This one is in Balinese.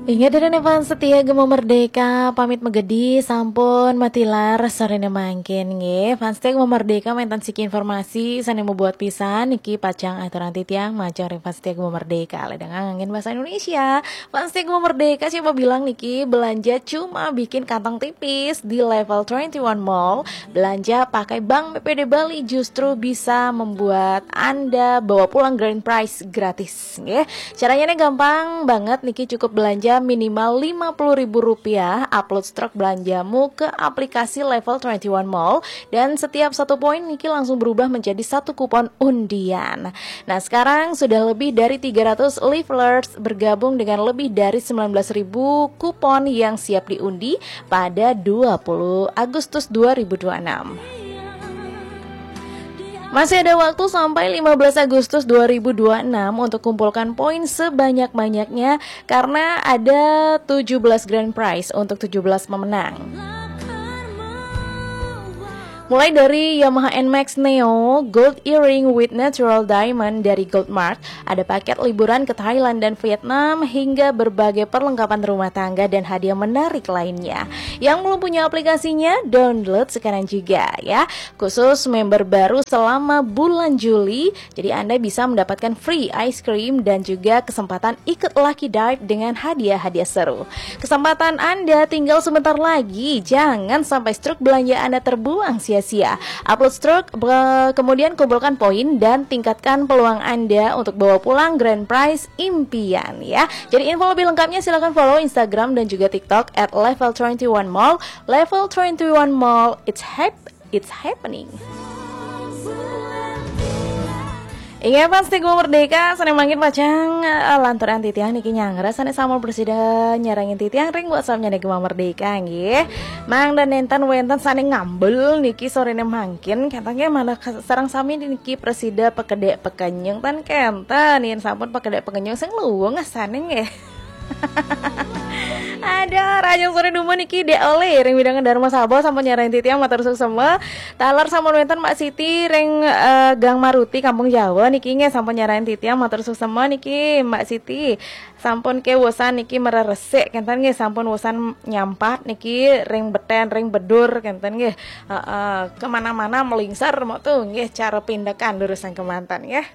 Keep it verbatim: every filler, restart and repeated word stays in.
Ingat diri fans setia Gema Merdeka, pamit megedi sampun matilar sorene mangkin nggih. Fans setia Gema Merdeka, wenten siki informasi sane mabuat pisan niki pacang aturang titiang majeng ring fans setia Gema Merdeka. Ledang nganggen bahasa Indonesia. Fans setia Gema Merdeka, siapa bilang niki belanja cuma bikin kantong tipis di level twenty one Mall. Belanja pakai Bank B P D Bali justru bisa membuat Anda bawa pulang grand prize gratis nggih. Caranya nih gampang banget niki, cukup belanja minimal lima puluh ribu rupiah, upload stroke belanjamu ke aplikasi Level twenty one Mall, dan setiap satu poin niki langsung berubah menjadi satu kupon undian. Nah, sekarang sudah lebih dari tiga ratus leaflets bergabung dengan lebih dari sembilan belas ribu kupon yang siap diundi pada dua puluh Agustus dua ribu dua puluh enam. Masih ada waktu sampai lima belas Agustus dua ribu dua puluh enam untuk kumpulkan poin sebanyak-banyaknya karena ada tujuh belas grand prize untuk tujuh belas pemenang. Mulai dari Yamaha N max Neo, Gold Earring with Natural Diamond dari Goldmark, ada paket liburan ke Thailand dan Vietnam, hingga berbagai perlengkapan rumah tangga dan hadiah menarik lainnya. Yang belum punya aplikasinya, download sekarang juga ya. Khusus member baru selama bulan Juli, jadi Anda bisa mendapatkan free ice cream dan juga kesempatan ikut lucky dive dengan hadiah-hadiah seru. Kesempatan Anda tinggal sebentar lagi, jangan sampai stroke belanja Anda terbuang sia-sia. Upload stroke, be- kemudian kumpulkan poin dan tingkatkan peluang Anda untuk bawa pulang grand prize impian ya. Jadi info lebih lengkapnya silahkan follow Instagram dan juga TikTok at level twenty one mall. Level twenty one Mall, it's hap- it's happening. Inggih, fans setia Gema Merdeka, sane mangkin pacang, eh, lanturang titiang niki nyanggra sane sampun prasida nyarengin titiang ring WhatsApp-ne Gema Merdeka nggih. Mangda nenten wenten sane ngambel niki sorene mangkin, kenten nggih, manah ke- sareng sami niki prasida pakedek pakenyung ten kenten, yen sampun pakedek pakenyung sing luwung sane nggih. Aduh, rahajeng sore dumun niki Dek Oli ring wewidangan Darmasaba sampun nyarengin titiang, matur suksma. Taler sampun wenten Mbak Siti ring, eh, Gang Maruti Kampung Jawa niki nggih sampun nyarengin titiang, matur suksma niki Mbak Siti. Sampun kewosan niki mereresik kenten nggih, sampun wosan nyampat niki ring beten ring bedur kenten nggih. Heeh, kemana-mana melingsar mok tu nggih cara pindekan lurus sangkemanten nggih.